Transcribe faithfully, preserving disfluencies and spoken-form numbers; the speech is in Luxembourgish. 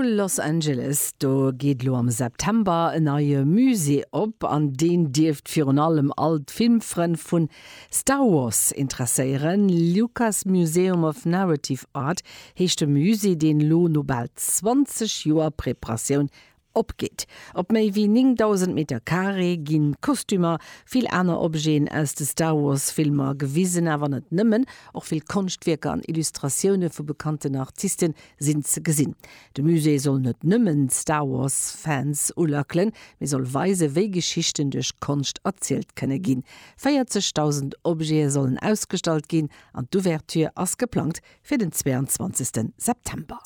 Zu Los Angeles, do geet lo am September en neie Musée op, an deen dierft virun allem all d'Filmfrënn vu Star Wars interesséieren. Lucas Museum of Narrative Art heescht de Musée, deen lo no bal zwanzeg Joer Preparatioun opgeet. Op méi wéi néngdausend Meter Carré ginn Kostümer, vill aner Objeten aus de Star Wars Filmer gewisen, awer net nëmmen, och vill Konschtwierker an Illustratioune vu bekannten Artiste sinn ze gesinn. De Musée soll net nëmmen Star Wars Fans ulackelen, mee soll weise wéi Geschichten duerch Konscht erzielt kënne ginn. véierzegdausend Objete sollen ausgestallt ginn an d'Ouverture ass geplangt fir den zweiandzwanzegste September.